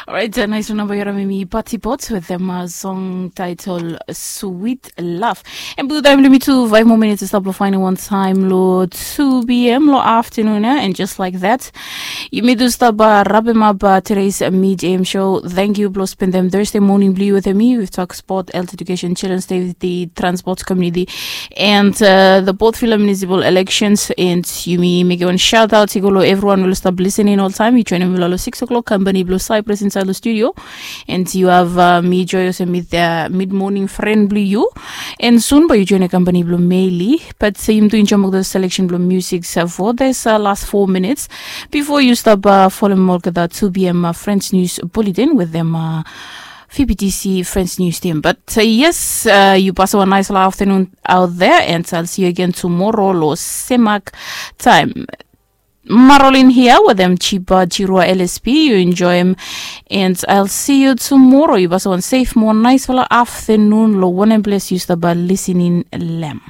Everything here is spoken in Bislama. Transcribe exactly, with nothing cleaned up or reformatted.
Orait, nais lo namba yu harim em i Pati Potts with them uh, song title Sweet Love. And by the time lo mi tu five more minutes is up lo finding one time lo two p.m. lo afternoon, eh? And just like that, yumi tu stap uh, wrap him up uh, today's uh, mid am show. Thank you blo spend them Thursday morning blue with me. We've talked sport, health education, children's day with the transport community, and uh, the Port Vila municipal elections. And yumi make one shout out to go everyone will stop listening all time. You join him lo six o'clock company blue Cyprus inside the studio. And you have uh, me joyous and with uh, mid morning friend blue you. And soon by you join a company blue Meili. But uh, you doing jump the selection blue music uh, for this uh, last four minutes before you stop uh, follow more the two p.m. Uh, French news bulletin with them. Uh, F B T C French News Team. But uh, yes, uh, you pass a nice afternoon out there, and I'll see you again tomorrow, lo semak time. Marolin here with them cheaper Chirua L S P. You enjoy him, and I'll see you tomorrow. You pass one safe, more nice afternoon. Lo one and bless you, staba listening, Lamb.